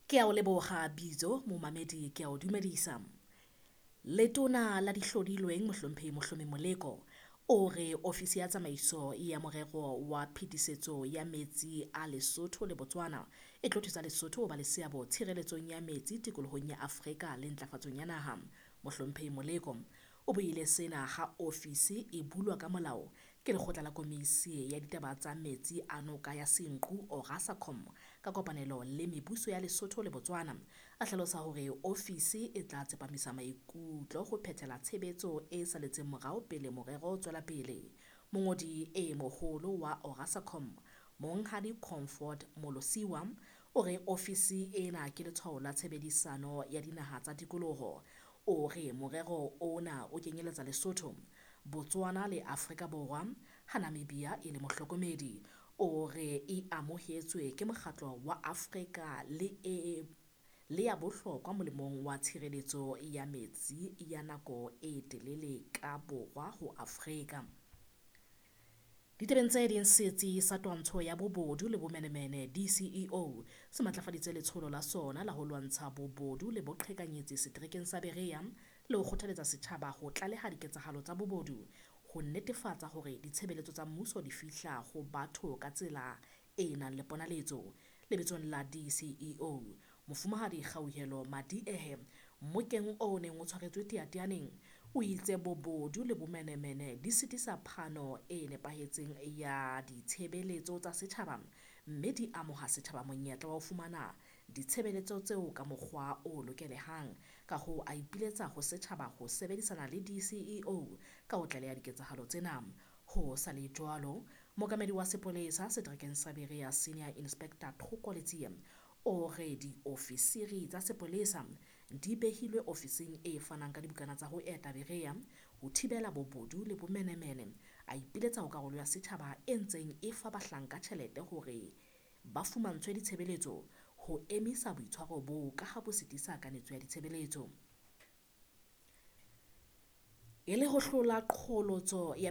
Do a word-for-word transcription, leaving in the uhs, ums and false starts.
Ke a o leboha bitso momamedi ke a o dumedisa. Letona la dihlodilweng Mohlomphehi Mohlomi Moleko o re ofisi ya tsamaiso ya morero wa phetisetso ya metsi a Lesotho le Botswana e tlo thusa Lesotho ho ba le seabo tshireletsong ya metsi tikolohong ya Afrika le ntlafatsong ya naha. Mohlomphehi Moleko o buile sena ha ofisi e bulwa ka molao ke lekgotla la komisi ya ditaba tsa metsi a noka ya Senqu Orasacom ka kopanelo le mebuso ya Lesotho le Botswana. A hlalosa hore ofisi e tla tsepamisa maikutlo ho phethela tshebetso e saletseng morao pele morero o tswela pele. Mongodi e moholo wa Orasacom Monghadi Comfort Molosiwa o re ofisi ena ke letshwao la tshebedisano ya dinaha tsa tikoloho. O re morero ona o kenyeletsa Lesotho, Botswana le Afrika Borwa ha Namibia e le mohlokomedi. O re e amohetswe ke mokgatlo wa Afrika le e le ya bohlokwa molemong wa tshireletso ya metsi ya nako e telele ka borwa ho Afrika. Ditabeng tse ding, setsi sa twantsho ya bobodu le bomenemene D C E O se matlafaditse letsholo la sona la ho lwantsha bobodu le boqhekanyetsi seterekeng sa Berea le ho kgothaletsa setjhaba ho tlaleha diketsahalo tsa bobodu ho netefatsa hore ditshebeletso tsa mmuso di fihla ho batho ka tsela e nang le ponaletso. Lebitsong la D C E O, Mofumahadi Kgauhelo Madiehe mmokeng o neng o tshwaretswe Teyateyaneng o itse bobodu le bomenemene di sitisa phano e nepahetseng ya ditshebeletso tsa setjhaba mme di amoha setjhaba monyetla wa ho fumana ditshebeletso tseo ka mokgwa o lokelehang. Ka hoo a ipiletsa ho setjhaba ho sebedisana le D C E O ka ho tlaleha diketsahalo tsena. Ho sa le jwalo, mookamedi wa sepolesa seterekeng sa Berea Senior Inspector Thoko Letsie o re diofisiri tsa sepolesa di behilwe ofising e fanang ka dibukana tsa ho eta Berea ho thibela bobodu le bomenemene. A ipiletsa ho karolo ya setjhaba e ntseng e fa bahlanka tjhelete hore ba fumantshwe ditshebeletso ho emisa boitshwaro boo ka ha bo sitisa kanetso ya ditshebeletso. E le ho hlola qholotso ya